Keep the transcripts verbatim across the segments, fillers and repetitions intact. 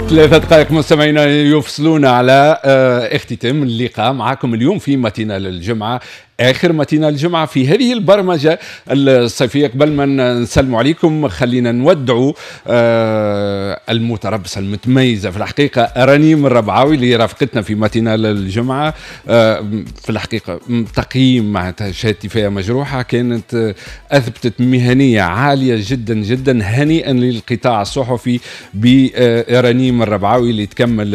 ثلاثة دقائق مستمعينا يفصلون على آه، اختتام اللقاء معكم اليوم في matinale الجمعة، آخر matinale الجمعة في هذه البرمجة الصيفية. قبل ما نسلم عليكم خلينا نودعوا آه، المتربصة المتميزة في الحقيقة رنيم الربعاوي اللي رافقتنا في matinale الجمعة. آه، في الحقيقة تقييم معناتها شهادتي فيها مجروحة، كانت أثبتت مهنية عالية جدا جدا. هنيئا للقطاع الصحفي برنيم الربعاوي اللي تكمل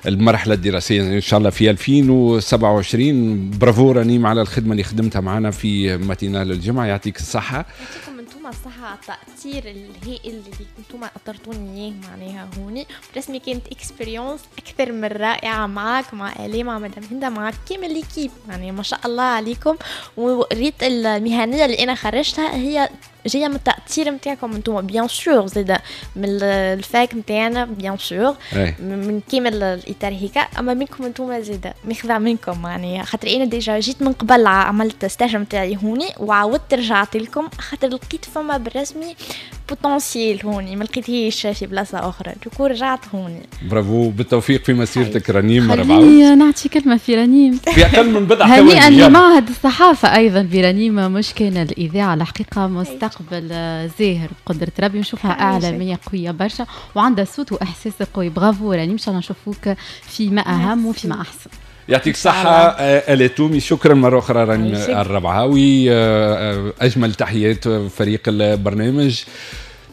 المرحلة الدراسية إن شاء الله في ألفين وسبعة وعشرين. برافو رنيم على الخدمة اللي خدمتها معنا في matinale الجمعة، يعطيك الصحة. يعطيكم انتم الصحة على التأطير الهائل اللي انتم أطرتوني اياه معناها هوني. رسمي كانت expérience اكثر من رائعة معاك، مع آلاء، مع مدام هند، مع كامل l'équipe. يعني ما شاء الله عليكم، وريت المهنية اللي انا خرجتها هي جاية من التأطير نتاعكم انتم، bien sûr زاده من ال fac نتاعنا، bien sûr من كامل الاطار هيك، اما منكم انتم زاده ماخذه منكم. يعني خاطر انا déjà جيت من قبل، عملت stage نتاعي هوني وعاودت رجعت لكم خاطر لقيت فما بالرسمي potentiel هوني ما لقيتهيش في بلاصة اخرى، du coup رجعت هوني. برافو، بالتوفيق في مسيرتك رنيم. خليني نعطي كلمة في رنيم. في اقل من بضع. هنيئا لمعهد الصحافة ايضا برنيم، مش كان الاذاعه. الحقيقة مستقبل زاهر بقدره ربي، نشوفها اعلامية قوية برشا وعندها صوت واحساس قوي. برافو رنيم، ان شاء الله نشوفوك في ما اهم وفي ما احسن. يعطيك الصحة آلاء تومي، شكرا مرة أخرى رنيم الربعاوي، آه، آه، أجمل تحيات فريق البرنامج.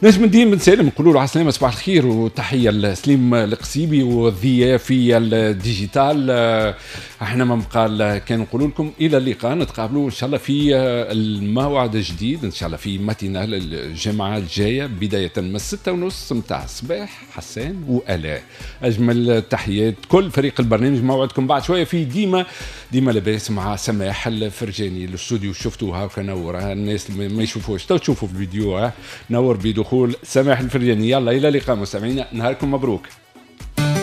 نجم الدين بن سالم نقولوا له على السلامه، صباح الخير، وتحية لسليم القصيبي والضياء في ال digital. آه، احنا ما بقى كان نقولوا لكم الى اللقاء، نتقابلوا ان شاء الله في الموعد الجديد، ان شاء الله في matinale الجمعة الجاية بداية من الستة ونص متاع الصباح. حسان والاء، اجمل تحيات كل فريق البرنامج. موعدكم بعد شوية في ديما ديما لاباس مع سماح الفرجاني. الاستوديو شفتوها وكنور، الناس ما يشوفوش تو تشوفوا في الفيديو، نور بدخول سماح الفرجاني. يلا الى اللقاء مستمعينا، نهاركم مبروك.